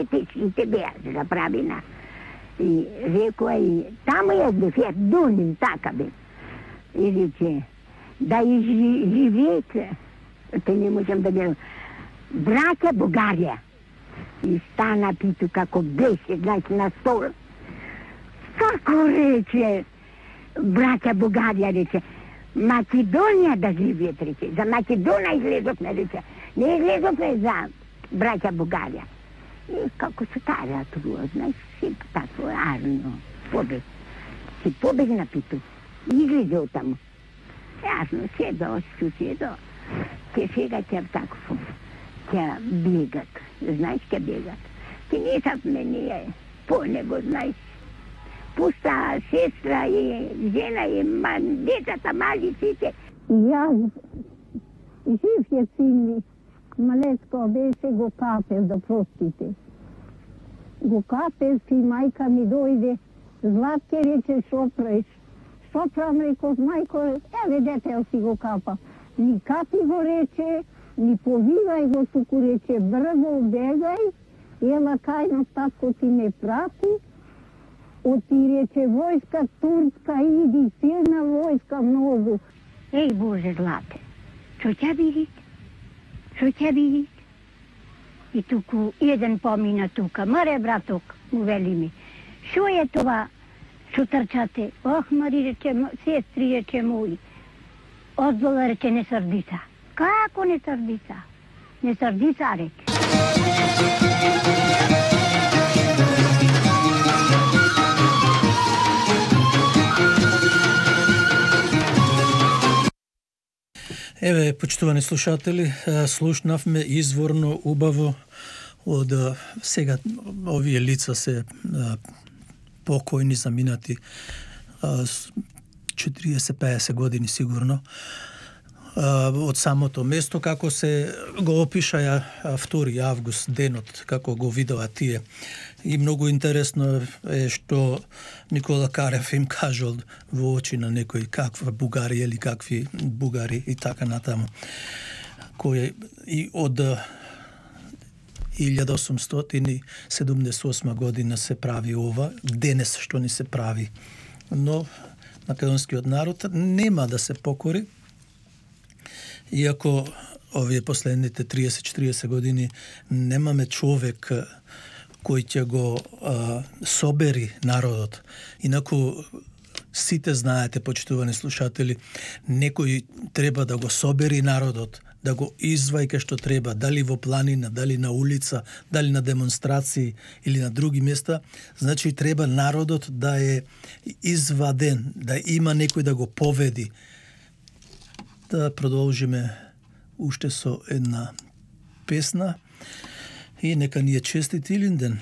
Течките беа се направина. И рекоа и таму е дефет дуним така бе. И рече, да и живеете, те не можем да гледам, браќа Бугарија. И стана питу како беше, значи на стол. Како рече, браќа Бугарија, рече, Македонија да живеет, рече, за Македонија излезовме, рече, не излезовме за браќа Бугарија. И како се таа ратувува, знаеш, си тако арно, побег. Си побегна питу, излезе од таму. Јасно, седо, седо, ке сега ќе тако, ќе бегат, знаеш, ќе бегат. Ке не сад мене по него, знаеш, пуста сестра и жена и децата малиците. Јас, жив е син ми, малецко беше го капел, да простите. Го капел си, мајка ми дојде, Златке рече, шо правиш? Шо правам, реков, мајко, еве детел си го капа. Ни капи го рече, ни повивај го, туку рече, брзо бегај, ела кајно татко ти ме прати, оти рече, војска турска иди, силна војска многу. Еј, Боже, Злате, што ќе видит? Што ќе видит? И туку еден помина тука, маре браток, му вели ми, шо е това, шо трчате? Ох, Мари, рече, сестри, рече мој, одзола, рече, не срдица. Како не срдица? Не срдица, рече. Еве, почитувани слушатели, слушнавме изворно убаво од сега овие лица се покојни, заминати 40-50 години сигурно од самото место, како се го опишаја 2 август денот, како го видоа тие. И многу интересно е што Никола Карев им кажал во очи на некој каква Бугарија или какви бугари и така натаму. Кој и од 1878 година се прави ова, денес што ни се прави. Но македонскиот народ нема да се покори, иако овие последните 30-40 години немаме човек кој ќе го собери народот. Инаку сите знаете, почитувани слушатели, некој треба да го собери народот, да го извајка што треба, дали во планина, дали на улица, дали на демонстрации или на други места. Значи треба народот да е изваден, да има некој да го поведи. Да продолжиме уште со една песна и нека ни е честит Илинден.